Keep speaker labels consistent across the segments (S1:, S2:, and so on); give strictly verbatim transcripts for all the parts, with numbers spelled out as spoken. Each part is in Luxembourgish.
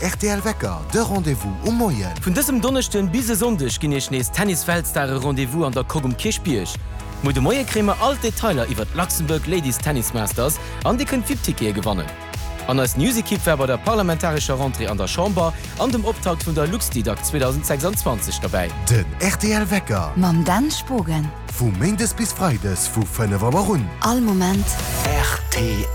S1: Rtl Wecker, de Rendez-vous um Moien.
S2: Vun dësem Donneschden bis e Sonndeg ginn iech nees Tennis-Weltstare Rendez-vous an der Coque um Kierchbierg. Muer de Moie kréie mer all d'Detailer iwwer d'Luxembourg Ladies Tennis Masters an dir kënnt VIP-Tickete gewannen. An eis News-Ekipp war bei der parlamentarescher Rentrée an der Chamber an dem Optakt vun der Luxdidac zweedausendsechsanzwanzeg derbäi.
S1: Den rtl Wecker.
S3: Mam Dan Spogen.
S1: Vu Méindes bis Freides vu fënnef Auer un.
S3: All Moment.
S4: Rtl.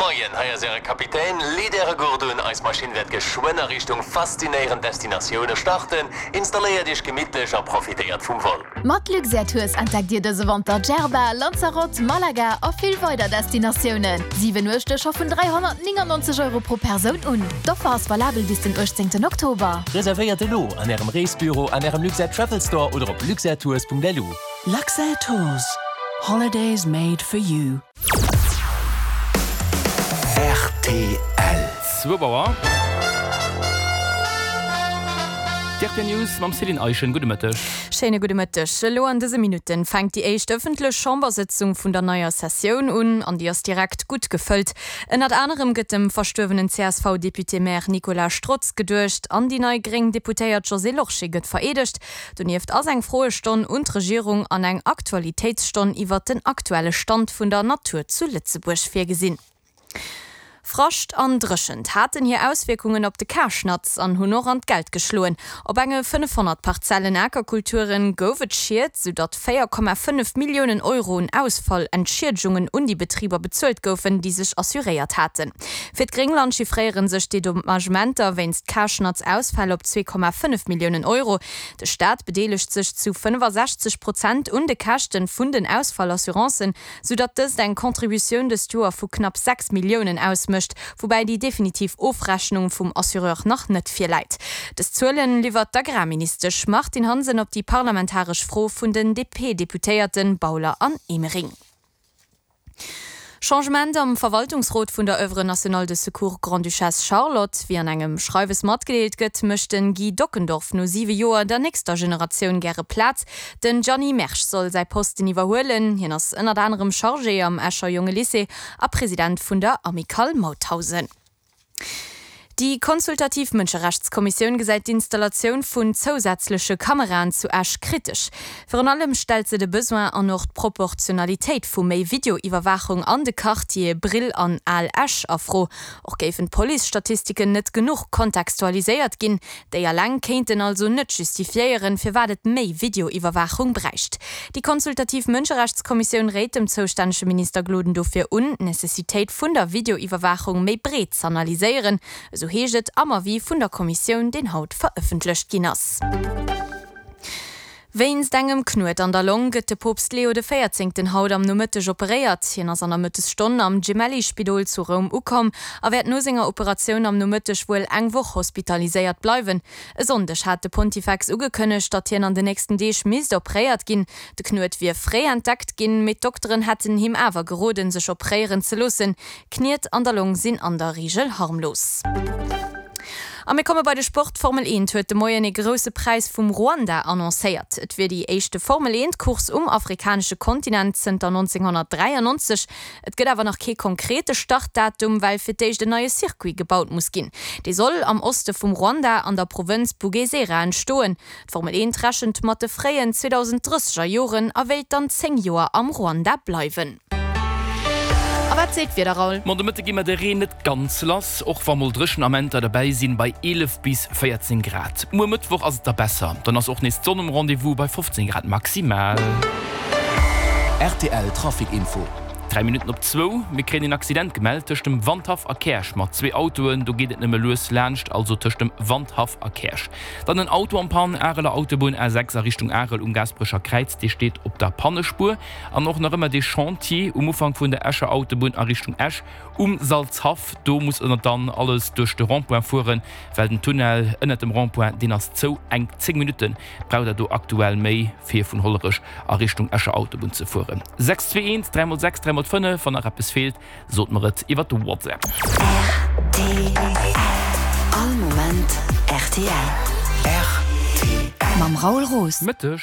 S4: Moien, hei ass äre Kapitän. Leet äre Gurt un, eis Maschinn wäert geschwënn a Richtung faszinéierend Destinatioune starten. Installéiert iech gemittlech a profitéiert vum Vol.
S5: Mat Luxair Tours entdeckt Dir dëse Wanter Djerba, Lanzarote, Malaga a vill weider Destinatiounen. Siwen Nuechte scho vun dräihonnertnéngannonzeg Euro pro Persoun un. D'Offer ass valabel bis den uechtzéngten Oktober.
S4: Reservéiert elo an ärem Reesbüro, an ärem Luxair Travel Store oder op luxairtours Punkt L U.
S6: Luxair Tours, holidays made for you.
S4: Rtl.
S7: Zwou Auer. D'R T L News mam Céline Eischen. Gudde Mëtteg.
S8: Schéine gudde Mëtteg. Elo an dëse Minutten fänkt déi éischt ëffentlech Chambersëtzung vun der neier Sessioun un an déi ass direkt gutt gefëllt. Ënnert anerem gëtt dem verstuerwenen C S V-Député-Maire Nicolas Strotz geduecht an déi nei gréng Deputéiert Josée Lorsché gëtt vereedegt. Donieft ass eng Froestonn un d'Regierung an eng Aktualitéitsstonn iwwert den aktuelle Stand vun der Natur zu Lëtzebuerg virgesinn. Frascht an Dréchent haten hir Auswierkungen op de Karschnatz an hunn och an d'Geld geschloen. Op enge fënnefhonnert Parzellen Akerkulturen gouf et Schied, soudatt véier Komma fënnef Milliounen Euro un Ausfallentschiedigungen un déi Betriber bezuelt goufen, déi sech assuréiert haten. Fir d'Gréngland chiffréiere sech d'Dedommagementer wéinst Karschnatz-Ausfäll op zwee Komma fënnef Milliounen Euro. De Staat bedeelegt sech zu fënnefasechzeg Prozent un de Käschten vun den Ausfallassurancen, soudatt dëst eng Contributioun dëst Joer vu knapp sechs Milliounen ausmécht, woubäi déi definitiv Ofrechnung vum Assureur nach net virläit. Dës Zuelen liwwert d'Agrarministesch Martine Hansen op déi parlamentaresch Fro vun den D P-Deputéierte Bauler an Emering. Changement am Verwaltungsrot vun der Oeuvre nationale de secours Grande-Duchesse Charlotte. Wéi an engem Schreiwes matgedeelt gëtt, mécht den Guy Dockendorf no siwe Joer der nächster Generatioun gäre Plaz. Den Gianni Mersch soll säi Posten iwwerhuelen. Hien ass ënnert anerem Chargé am Escher Jongelycée a President vun der Amicale Mauthausen. Déi consultativ Mënscherechtskommissioun gesäit d'Installatioun vun zousätzleche Kameraen zu Esch kritesch. Virun allem stellt se de Besoin an och d'Proportionalitéit vu méi Videoiwwerwaachung an de Quartiere Brill an Al Esch a Fro. Och géifen d'Police-Statistiken net genuch kontextualiséiert ginn. Déi eleng kéinten also net justifiéieren, firwat et méi Videoiwwerwaachung bräicht. Déi consultativ Mënscherechtskommissioun réit dem zoustännege Minister Gloden dofir un, d'Necessitéit vun der Videoiwwerwaachung méi breet z'analyséieren, esou heescht et am Avis vun der Kommissioun, deen haut verëffentlecht ginn ass. Wéinst engem Knuet an der Long gëtt de Poopst Leo de Véierzéngten haut am Nomëtteg operéiert. Hien ass an der Mëttesstonn am Gemelli-Spidol zu Roum ukomm a wäert no senger Operatioun am Nomëtteg wuel eng Woch hospitaliséiert bleiwen. E Sonndeg hat de Pontifex ugekënnegt, datt hien an den nächsten Deeg misst operéiert ginn. De Knuet wier fréi entdeckt ginn, mee d'Dokteren hätten him awer geroden, sech operéieren ze loossen. Kniet an der Long sinn an der Reegel harmlos. A mir komme bei de Sport, D'Formel eent huet de Moien ee grousse Präis vum Ruanda annoncéiert. Et wier déi éischte Formel eent Course um afrikanesche Kontinent zënter nonzénghonnertdräiannonzeg. Et gëtt awer nach kee konkrete Startdatum, well fir d'éischt en neie Circuit gebaut muss ginn. Dee soll am Oste vum Ruanda an der Provënz Bugesera entstoen. D'Formel eent rechent mat de fréien zweedausend drësseger Joren a wéilt dann zéng Joer am Ruanda bleiwen. A wat seet d'Wieder, Raoul?
S7: Ma de Mëtte gi mer de Reen net ganz lass, och wa mol dréchen Amenter derbäi sinn, bei eelef bis véierzéng Grad. Muer Mëttwoch ass et da besser, dann ass och nees d'Sonn um Rendez-vous bei fofzéng Grad maximal.
S4: R T L Trafic Info.
S7: Dräi Minutten op zwou, Mir kréien een Accident gemellt tëscht dem Wandhaff a Käerch mat zwee Autoen. Do geet et nëmme lues laanscht, also tëscht dem Wandhaff a Käerch. Dann en Auto en panne, Areler Autobunn A sechs a Richtung Arel um Gaasperecher Kräiz, dee steet op der Pannespuer. An och nach ëmmer dee Chantier um Ufank vun der Escher Autobunn a Richtung Esch um Salzhaff. Do muss ënnert dann alles duerch de Rond-point fueren, well den Tunnel ënnert dem Rond-point, deen ass zou. Eng zéng Minutte braucht der do aktuell méi, fir vun Hollerech a Richtung Escher Autobunn ze fueren. Sechs zwee eent, dräi mol sechs, dräi mol fënnef, wann nach eppes feelt, sot mer et iwwer de WhatsApp.
S3: R T L. All Moment R T L.
S4: R T L.
S3: Mam Raoul Roos.
S7: Mëtteg.